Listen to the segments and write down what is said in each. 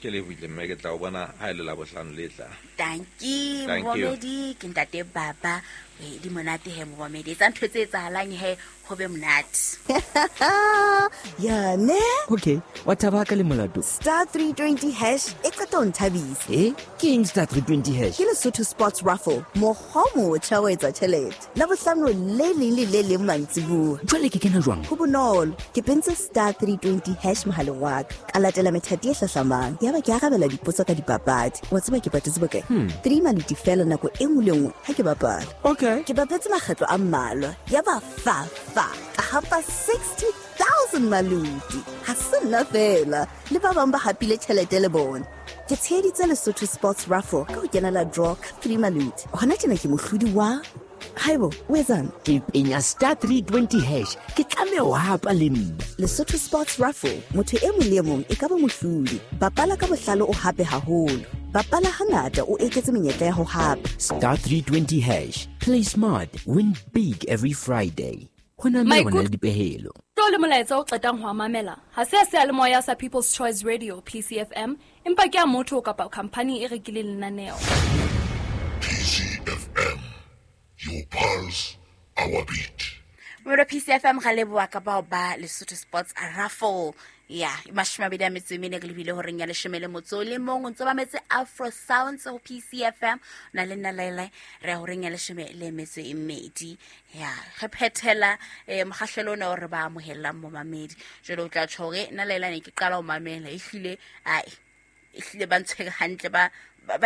Ke lebohile mme, ke tla o bona ha e le Labohlano le tlang. Tanki. Thank you. Momamedi ke ntate Baba. E, di monate he momamedi, etsa ntho tse etsahalang he ho be monate. Ya ne. Okay, wa thaba ka le molato. Star 320 hash e qeta ho nthabisa. E ke eng star 320 hash? Ke Lesotho Sports Raffle, mokgwa o motjha wa etsa tjhelete. Labohlano le leng le le leng mantsibuya. Jwale ke kena jwang? Ho bonolo, ke pentse star 320 hash mohaleng wa ka. Ka latela methati e hlahlamang. Yaba ke arabela dipotso ka dipapadi. Wa tseba ke patetse bokae? 3 maluti fela nako e nngwe le nngwe ha ke bapala. Okay. Ke bapetse makgetlo a mmalwa. Yaba fa fa ka hapa 60,000 maluti. Ha se nna fela, le ba bang ba hapile tjhelete le bona. Ke tsheheditse Lesotho Sports Raffle ka ho kenela draw ka 3 maluti. Hona tjena ke mohlodi wa. Haibo, o etsang? Ke penya star 320 hash, ke tlameha ho hapa le nna. Lesotho Sports Raffle, motho e mong le e mong e ka ba mohlodi. Bapala ka bohlale, o hape haholo. Bapala hangata, o eketse menyetla ya ho hapa. Star 320 hash, play smart, win big every Friday. Ho na mme ho na le dipehelo. Tlo le molaetsa o qetang ho a mamela ha se a seyalemoya sa People's Choice Radio, PCFM, empa ke a motho kapa khampani e rekileng lenaneo. PCFM, your pulse, our beat. Moro PCFM, ga leboa ka bao ba Lesotho Sports Raffle ya 24, re lebile horeng ya 11. O ntse ba metse Afro Sounds ho PCFM na le nna Laila. Re ya horeng ya 12 ya re phethela mokgahlelo ona o re ba amohellang momamedi. Jwale o tla tjho hore nna Laila ne ke qala ho mamela, ehlile ai, ehlile ba ntshwere hantle, ba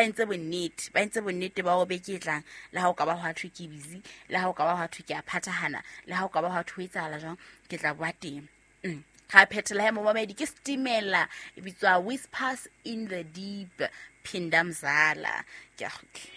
entse bonnete, ba entse bonnete ba hore beke e tlang le ha o ka ba hwa thwe ke busy, le ha o ka ba hwa thwe ke a phathahana, le ha o ka ba hwa thwe ho etsahala jwang, ke tla bua teng. Ga phethela he momamedi ke Stimela e bitswa Whispers in the Deep, Phinda Mzala. Ke a kgutla.